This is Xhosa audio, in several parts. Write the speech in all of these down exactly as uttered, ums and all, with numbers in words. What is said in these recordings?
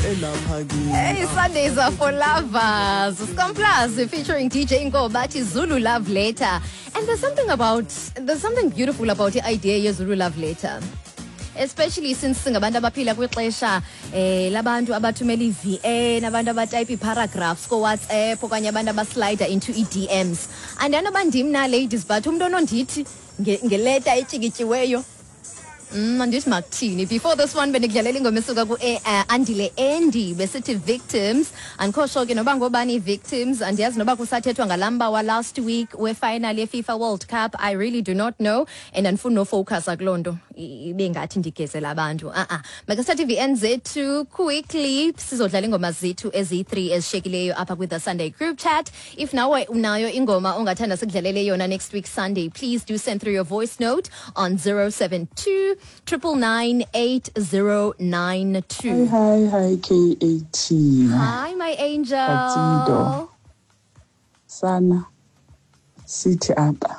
Elapha kimi. Hey, Sundays are for lovers. Scum Plus featuring D J Nkobathi, Zulu Love Letter. And there's something about there's something beautiful about the idea ye Zulu Love Letter. Especially since singabantu abaphila kwixesha eh labantu abathumela i-V N, abantu abatype ii-paragraphs ko-WhatsApp okanye abantu abaslida into ii-D Ms. Andanoba ndim na, ladies, but umntu onondithi nge- ngeleta etyikityiweyo, Mm, andithi makuthini. Before this one bendikudlalela ingoma esuka ku eh, Andile Andy, besithi Victims. Andikho sure ke noba ngobani ii-victims. Andiyazi noba kusathethwa ngalaa wa last week we-final ye-FIFA World Cup. I really do not know and andifuni nofocusa kuloo nto, i- ibe ngathi ndigezela abantu. A-a, makasithathe ii-V N zethu quickly, sizodlala iingoma zethu eziyi-three ezishekileyo apha kwi-The Sunday Group Chat. If nawe unayo ingoma ongathanda sikudlalele yona next week Sunday, please do send through your voice note on zero seven two nine nine nine eight zero nine two. Hi, hi, hi, K A T. Hi, my angel. Katsido. Sana sithi apha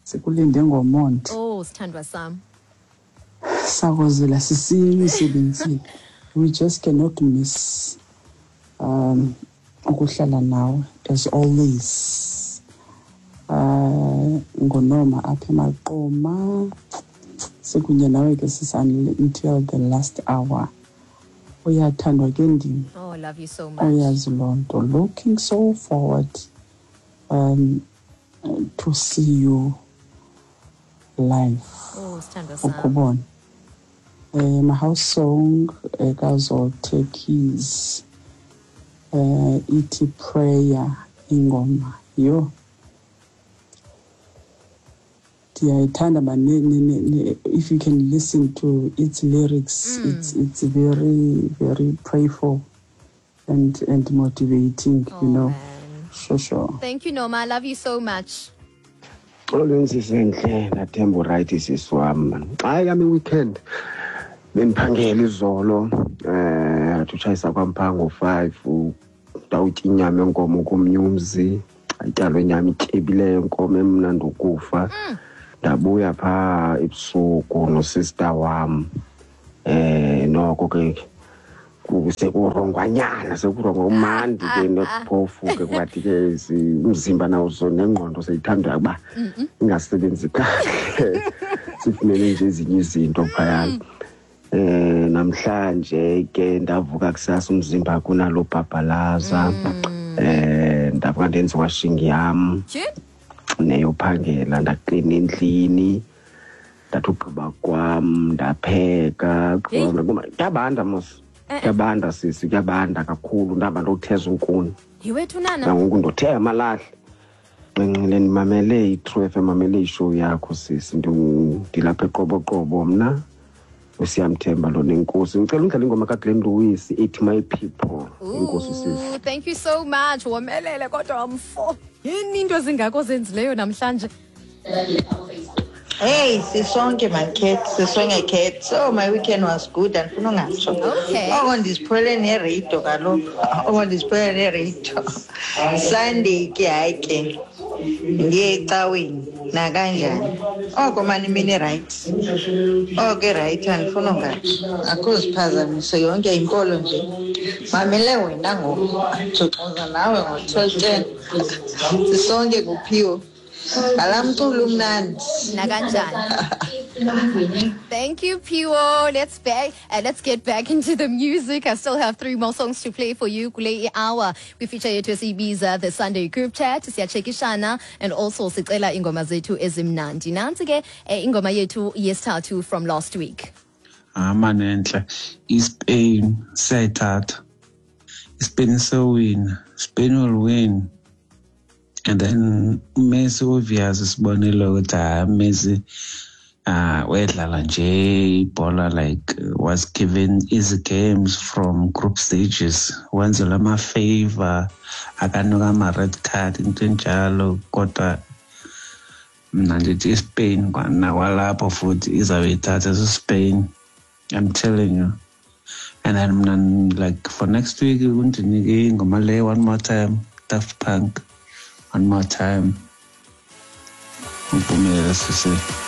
sikulinde ngomonde. Oh, sithandwa sam. Sakozela sisiya emisebenzini. We just cannot miss um ukuhlala nawe as always. Uh ngonoma apha eMaqoma, sikunye nawe ke sisani until the last hour. Uyathandwa ke ndim. Oh, I love you so much. Uyazi loo nto. Looking so forward um to see you live. Oh, sithandwa sam. Ukubona um house song ekaZothe Keys, eh ithi Prayer ingoma. Yho, ndiyayithanda man. ne- ne- ne- ne- if you can listen to its lyrics, it's it's very, very prayerful and and motivating Oh, you know man. sure sure Thank you, Noma. I love you so much. Xolweni sisenhle, nathemba uright sisi wam man. Xa yami weekend bendiphangela izolo, eh athi utshayisa kwam phaa ngo-five, ndawutya inyama yenkomo komnye umzi, atyalwe inyama ityebileyo inkomo emnandi ukufa. Ndabuya phaa ebusuku nosista wam, eh noko ke sekurongwanyana, sekurongwa umandi ke, nokuphofu ke kwathi ke si- umzimba nawo so nengqondo seyithanda ukuba ingasebenzi kahle, sifumene nje ezinye izinto phayana. eh namhlanje ke ndavuka kusasa, umzimba kunalo bhabhalaza, eh ndavuka ndenza washing yam Tyhini? Neyophangela, ndaklina endlini, ndathi ugqiba kwam ndapheka. Heyi. Kuyabanda mos, kuyabanda sisi, kuyabanda kakhulu. Ndaba ndotheza unkuni. Yiwethu nana. Nangoku ndothe amalahle nxinxile, ndimamele i-True F M, mamele ishow yakho sisi. Ndu- ndilapha eQoboqobo mna, uSiyamthemba lo nenkosi. Ngicela undlala ingoma kaGlenn Lewis ethi My People. Inkosi sisi. Ooh, thank you so much. Womelele kodwa mfo. Yini into ezingako zenzileyo namhlanje? Hey, sisonke man Cat, sisonke Cat. So my weekend was good, andifuna ungatsho. Okay. Oko ndiziphole neradio kaloku. Oko ndiziphole neradio. Sunday ke hayi ke. Ndiye ecaweni nakanjani. Oko mani imini right. Oko right, andifuna ungatsho. Akho ziphazamiso, yonke inkolo nje. Mamele wena ngoku. Xoxa nawe ngo-twelve ten. Sisonke kuphiwo. Ngalaa mculo umnandi. Nakanjani. Thank you, Piwo. Let's back. Uh, let's get back into the music. I still have three more songs to play for you. Kule hour we feature yethu esiyibiza The Sunday Group Chat. Siyachekishana and also sicela ingoma zethu ezimnandi. Nansi ke eh, ingoma yethu yesithathu from last week. Amanentle, iSpain siyayithatha, iSpain sewina, Spain will win. And then Messi, obvious, sibonile ukuthi hayi, Messi uh wedlala nje ibhola, like was given easy games from group stages, wenzelwa ama-favor, akanuka ama-red card, into enjalo. Kodwa mna ndithi iSpain nakwalapho futhi izawuyithatha siSpain, I'm telling you. And then mna, like, for next week undinike ingoma le, One More Time, Daft Punk, One More Time. Uphumelele sisi.